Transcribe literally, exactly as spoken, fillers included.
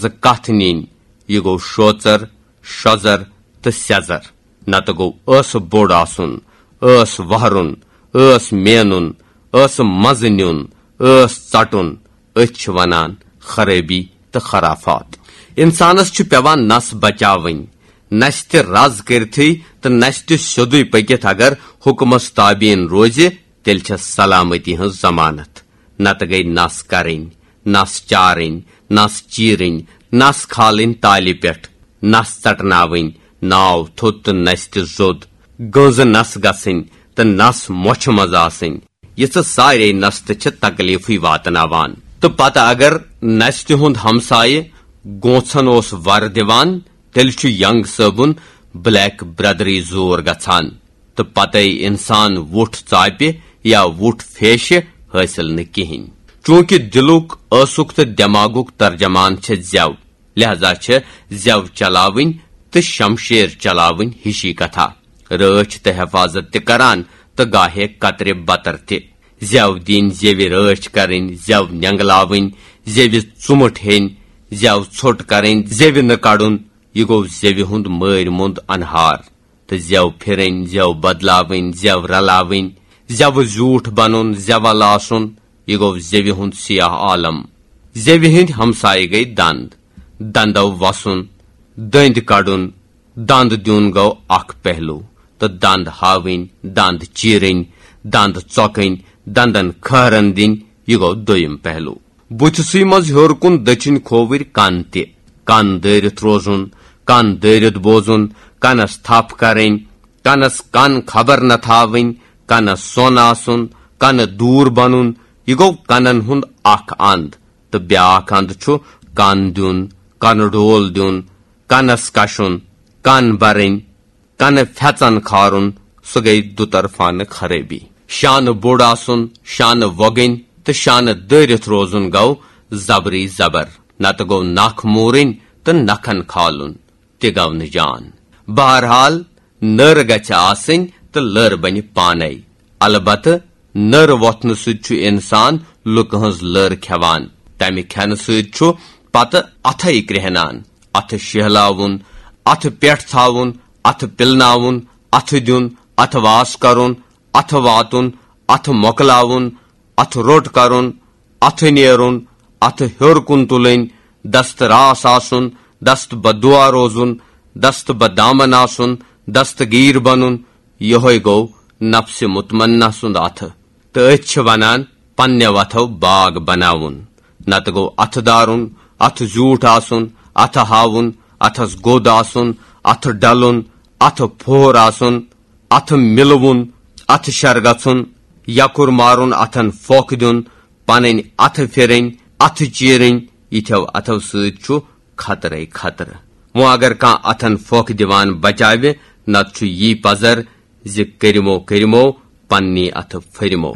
تہٕ کتھ نِنۍ، یہِ گوٚو شوژر، شۄزر تہٕ سیٚزر۔ نتہٕ گوٚو ٲسہٕ بوٚڑ آسُن، ٲس وہرُن، ٲس مینُن، ٲسہٕ مزٕ نیُن، ٲس ژٹُن۔ أتھۍ چھِ ونان خرٲبی تہٕ خرافات۔ انسانس چھُ پٮ۪وان نس بچاوٕنۍ، نستہِ رز کٔرتھٕے تہٕ نستہِ سیوٚدُے پٔکِتھ اگر حُکمس تابعین روزِ، تیٚلہِ چھےٚ سلامتی ہٕنٛز ضمانت۔ نتہٕ گٔے نس کرٕنۍ، نس چارٕنۍ، نس چیرٕنۍ، نس کھالٕنۍ تالہِ پٮ۪ٹھ، نس ژٹناوٕنۍ، ناو تھوٚد تہٕ نستہِ زوٚد، گٔنزٕ نس گژھٕنۍ تہٕ نس مۄچھِ منٛز آسٕنۍ۔ یِژھٕ سارے نستہٕ چھِ تکلیفٕے واتناوان۔ تہٕ پتہٕ اگر نستہِ ہُنٛد ہمسایہِ گونٛژھن اوس ور دِوان، تیٚلہِ چھُ ینگ صٲبُن بلیک برادری زور گژھان۔ تہٕ پتے انسان وُٹھ ژاپہِ یا وُٹھ فیشہِ حٲصِل نہٕ کِہینۍ۔ چونکہ دلُک، ٲسُک تہٕ دٮ۪ماغُک ترجمان چھےٚ زٮ۪و، لہذا چھےٚ زٮ۪و چلاوٕنۍ تہٕ شمشیر چلاوٕنۍ ہِشی کتھا۔ رٲچھ تہٕ حفاظت تہِ کران تہٕ گاہے قطرِ بطر تہِ۔ زٮ۪و دِنۍ، زٮ۪وِ رٲچھ کرٕنۍ، زٮ۪و نینگلاوٕنۍ، زٮ۪وِ ژُمُٹ ہیٚنۍ، زٮ۪و ژھوٚٹ کرٕنۍ، زٮ۪وِ نہٕ کڑُن، یہِ گوٚو زٮ۪وِ ہُنٛد مٲرۍ موٚنٛد انہار۔ تہٕ زٮ۪و پھِرٕنۍ، زٮ۪و بدلاوٕنۍ، زٮ۪و رلاوٕنۍ، زٮ۪وٕ زیوٗٹھ بنُن، زٮ۪وَل آسُن، یہِ گوٚو زٮ۪وِ ہُنٛد سیاہ عالم۔ زٮ۪وِ ہٕنٛدۍ ہمسایہِ گٔے دند، دندو وسُن، دٔنٛدۍ کڑُن، دند دیُن گوٚو اکھ پہلو، تہٕ دند ہاوٕنۍ، دند چیرٕنۍ، دند ژۄکٕنۍ، دندن کھہرن دِنۍ، یہِ گوٚو دوٚیِم پہلو۔ بُتھِسٕے منٛز ہیوٚر کُن دٔچھِنۍ کھووٕرۍ کن تہِ۔ کن دٲرِتھ روزُن، کن دٲرِتھ بوزُن، کنس تھپھ کرٕنۍ، کنس کن خبر نہ تھاوٕنۍ، کنس سۄن آسُن، کنہٕ دوٗر بنُن، یہِ گوٚو کنن ہُنٛد اکھ اند۔ تہٕ بیاکھ اند چھُ کن دیُن، کنہٕ ڈول دیُن، کنس کشُن، کن برٕنۍ، کنہٕ پھٮ۪ژن کھارُن، سُہ گٔے دُطرفانہٕ خرٲبی۔ شانہٕ بوٚڑ آسُن، شانہٕ وۄگٕنۍ تہٕ شانہٕ دٲرِتھ روزُن گوٚو زبرٕے زبر، نتہٕ گوٚو نکھ موٗرٕنۍ تہٕ نکھن کھالُن تہِ گوٚو نہٕ جان۔ بہرحال، نٔر گژھِ آسٕنۍ تہٕ لٔر بنہِ پانے۔ البتہٕ نٔر وۄتھنہٕ سۭتۍ چھُ انسان لُکہٕ ہٕنٛز لٔر کھٮ۪وان۔ تمہِ کھٮ۪نہٕ سۭتۍ چھُ پتہٕ اتھے کرٛیہنان۔ اتھٕ شیہلاوُن، اتھٕ پٮ۪ٹھ تھاوُن، اتھٕ پِلناوُن، اتھٕ دیُن، اتھٕ واس کرُن، اتھٕ واتُن، اتھٕ مۄکلاوُن، اتھٕ روٚٹ کرُن، اتھٕ نیرُن، اتھٕ ہیوٚر کُن تُلٕنۍ، دست راس آسُن، دست بدعا روزُن، دست بدامن آسُن، دستگیر بنُن، یہوے گوٚو نفسِ مطمئنہ سُنٛد اتھٕ۔ تہٕ أتھۍ چھِ ونان پننہِ وتھو باغ بناوُن۔ نتہٕ گوٚو اتھٕ دارُن، اتھٕ زیوٗٹھ آسُن، اتھٕ ہاوُن، اتھس گوٚد آسُن، اتھٕ ڈلُن، اتھٕ پھوٚہر آسُن، اتھٕ مِلوُن، اتھٕ شر گژھُن، یکُر مارُن، اتھن پھۄکھ دیُن، پنٕنۍ اتھٕ پھِرٕنۍ، اتھٕ چیرٕنۍ، یِتھیو اتھو سۭتۍ چھُ خطرے خطرٕ۔ وۄنۍ اگر کانٛہہ اتھن پھۄکھ دِوان بچاوِ، نتہٕ چھُ یی پزر زِ کٔرِمو کٔرِمو، پننی اتھٕ پھٔرِمو۔